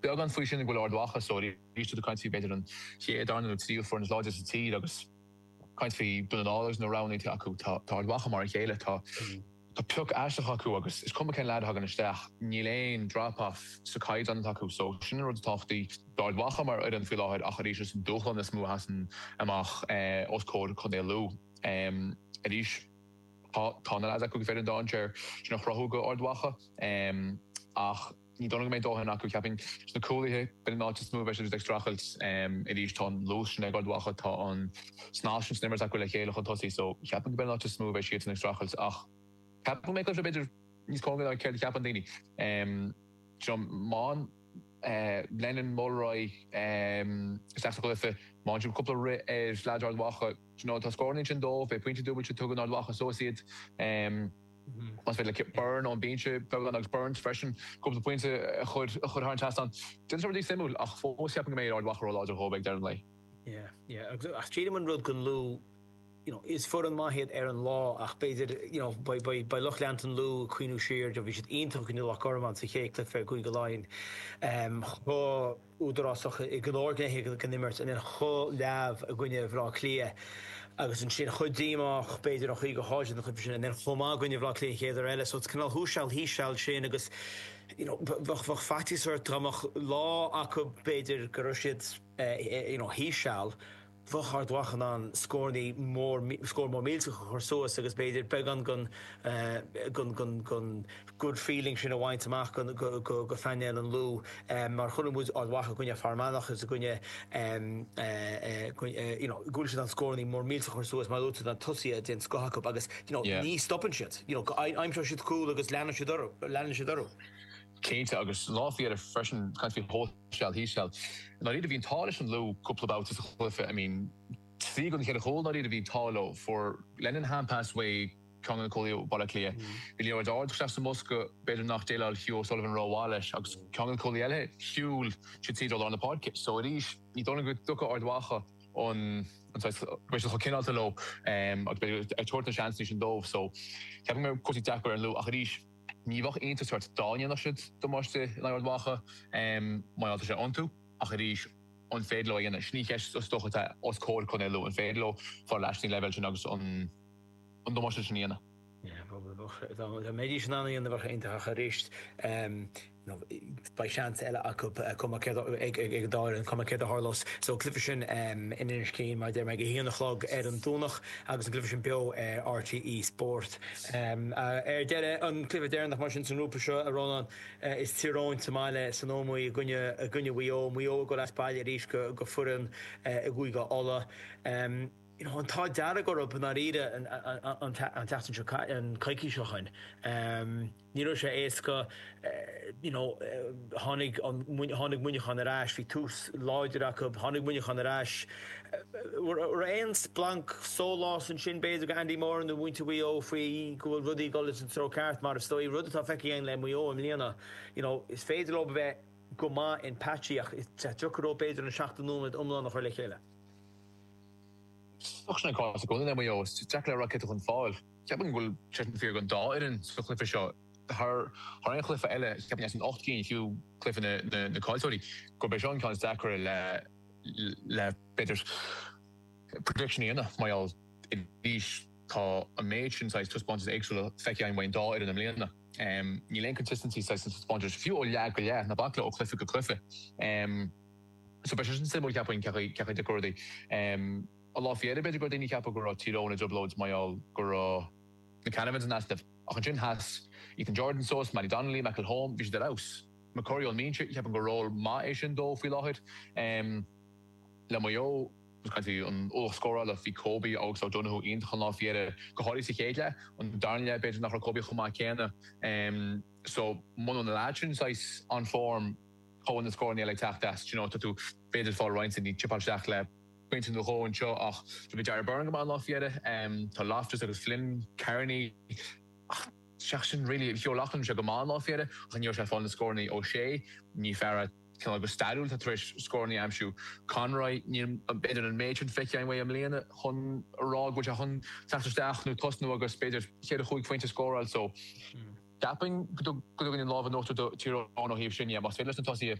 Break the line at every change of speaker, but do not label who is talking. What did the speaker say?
Beagán faoi sin ag a bhfuil Ard Mhacha so arís tá tú ag caint faoi b'fhéidir an chéad, darna nó tríú foireann is láidre sa tír agus caint faoi Dún na nGall agus na roghanna atá acu. Tá Ard Mhacha mar a chéile. Tá tá pioc aisteach acu agus is cuma cén leaid a thagann isteach, níl aon drop off sa caighdeán atá acu. So sin an rud is tábhachtaí d'Ard Mhacha mar fhoireann faoi láthair ach arís is an dúshlán is mó a sheasann amach os comhair Chontae Lú. Arís tá tá na leaids acu gur féidir an dainséar sin a chruthú do Ard Mhacha ach Ní dóigh liom go mbeidh dóthain acu, cheapfainn. Sna cúlaithe, b'in an áit is mó a bheidh siad ag streachailt. Arís, tá an luas sin ag Ard Mhacha, tá an snas sin san imirt acu le chéile chun tosaigh, so cheapfainn go b'in an áit is mó a bheidh siadsan ag streachailt. Ach ceapaim go mbeidh cluiche b'fhéidir níos cóngaraí ná céard a cheapann daoine. You know, má Lennon, Mulroy isteach sa chluiche, má fhaigheann siad cúpla rith ar leaids Ard Mhacha, you know, tá scóranna ansin dóibh, beidh pointe dúbailte tugtha in Ard Mhacha suas iad. Más féidir le Byrne ón bhinse beagán agus Burns freisin cúpla pointe a chur thar an trasnán. Déanfaidh sé rudaí suimiúil ach fós ceapaim go mbeidh Ard Mhacha ró-láidir dhóibh ag deireadh an lae.
Yeah, yeah. Agus ach sílim an rud don Lú, you know, is foireann maith iad ar an lá ach b'fhéidir, you know, beidh, beidh, beidh lucht leanta an Lú ag cuimhniú siar, bhí siad iontach i gcoinne Loch Garman sa chéad cluiche i gCúige Laighean. Chomh údarásach i go leor gnéithe den imirt and then chomh leamh i gcoinne Bhaile Átha Cliath agus ansin chomh díomách b'fhéidir an chaoi gur chaill siad an cluiche sin and then chomh maith i gcoinne Bhaile Átha Cliath an chéad uair eile. So it's cineál thuas seal thíos seal sin agus you know bheadh bheadh faitíos ort dá mbeadh lá acu b'fhéidir go raibh siad you know thíos seal bheadh Ard Mhacha in ann scórannaí mór, scór mór millteach a chur suas agus b'fhéidir beagán den, den, den, den good feeling sin a bhaint amach go, go, go, go phainéal an Lú. Mar chonaic muid Ard Mhacha i gcoinne Fear Manach agus i gcoinne, you know, go bhfuil siad in ann scórannaí mór millteach a chur suas mar luaigh tú na tosaithe den scoth acu agus, you know, ní stopann siad, you know, aimseoidh siad cúl agus leanann siad orthu, leanann siad orthu.
Cinnte, agus lá faoi dheireadh freisin, caint faoi thuas seal thíos seal. I ndáiríre bhí an t-ádh leis an Lú cúpla babhta sa chluiche, I mean trí den cheithre chúl i ndáiríre bhí an t-ádh leo. Fuair Lennon hand pass uaidh ceann de na cúlaithe ó Bhaile Átha Cliath. Bhí liathróid ard isteach sa mbosca, b'fhéidir nach déileáil Hugh O'Sullivan rómhaith leis agus ceann de na cúlaithe eile shiúil siad tríd ó lár na páirce. So arís ní dóigh liom go dtiocfaidh Ard Mhacha an an saghas go mbeidh siad chomh cineálta leo agus beidh ag tabhairt na seansanna sin dóibh. So ceapaim go mbeidh cúrsaí deacair ar an Lú ach arís, Ní bheadh iontas ort dá ndéanfadh siad damáiste in aghaidh Ard Mhacha, mar gheall tá sé iontu, ach arís, an féidir leo a dhéanamh? Sin í an cheist is dócha atá os comhair Chontae Lú, an féidir leo fáil ar ais na leibhéil sin agus an damáiste sin a dhéanamh?
Dá mbeidís in ann a dhéanamh bheadh sé iontach ach arís, beidh seans eile acu cuma céard ag an dá fhoireann, cuma céard a tharlós. So an cluiche sin in Inis Caoin, mar a deir mé, ag a haon a chlog ar an Domhnach agus an cluiche sin beo ar RTÉ Sport. Ar deireadh, an cluiche deireanach mar sin sa ngrúpa seo, a Rónáin, is Tír Eoghain sa mbaile san Ómaigh i gcoinne i gcoinne Mhaigh Eo. Maigh Eo ag dul as baile arís go go foireann i gCúige Uladh. You know, an t-ádh dearg orthu i ndáiríre an an an tseachtain seo an coicís seo chugainn. Ní raibh sé éasca, you know, tháinig an, tháinig Muineachán ar ais, bhí tús láidir acu, tháinig Muineachán ar ais. Raibh aon splanc sóláis ansin b'fhéidir go Andy Moran nó muintir Mhaigh Eo faoi go bhfuil rudaí ag dul sa treo ceart mar is dóigh, rud atá feicthe againn le Maigh Eo i mbliana, you know, is féidir leo a bheith go maith in patchy ach is deacair leo b'fhéidir an 70 nóiméad iomlán a chur le chéile.
Is dócha sin an cás i gcónaí le Maigh Eo, is deacair le rá cé atá chun fáil. Ceapaim go bhfuil sé sin fíor don dá fhoireann sa chluiche seo. Thar aon chluiche eile, cheapfainn as an 8 gcinn, fiú cluiche na caillteoirí, gurb é seo an ceann is deacra le le b'fhéidir prediction a dhéanamh mar gheall arís tá an méid sin saghas taispeántais éagsúla feicthe againn uaidh an dá fhoireann i mbliana. Níl aon consistency saghas sna taispeántais, fiú ó leath go leath, ná bac le ó chluiche go cluiche. So beidh sé sin suimiúil cheapfainn cén chaoi a dtiocfaidh rudaí. An lá faoi dheireadh, b'fhéidir go raibh daoine ag ceapadh go raibh Tír Eoghain i dtrioblóid mar gheall go raibh na Canavans in easnamh. Ach ansin sheas Ethan Jordan suas, Mattie Donnelly, McElholm, bhí siad ar fheabhas. McCurry ón mbinse, cheapfainn gur ról maith é sin dó faoi láthair. Le Maigh Eo, ag caint faoi an ualach scórála, bhí Kobe agus O'Donoghue iontach an lá faoi dheireadh, go háirithe sa chéad leath. An darna leath, b'fhéidir nach raibh Kobe chomh maith céanna. So, muna bhfuil na leaids sin saghas on form, cá bhfuil na scóranna eile ag teacht as? Do you know, tá tú b'fhéidir ag fáil roinnt daoine chipeáil isteach le pointe nó dhó anseo ach bhí Darragh Beirne go maith an lá faoi dheireadh. Tá Loftus agus Flynn, Kearney ach seachas sin really bhí O'Loughlin sé go maith an lá faoi dheireadh ach ní raibh sé ag fáil na scóranna. O'Shea ní fear é cineál go stairiúil atá tar éis scóranna a aimsiú. Conroy níl b'fhéidir an méid sin feicthe againn uaidh i mbliana chun a rá go bhfuil sé chun teacht isteach nó tosnú agus b'fhéidir cheithre chúig phointe a scóráil so ceapaim go dtugann an lámh in uachtar do Tír Eoghain ó thaobh sin dhe. Más féidir leis na tosaithe.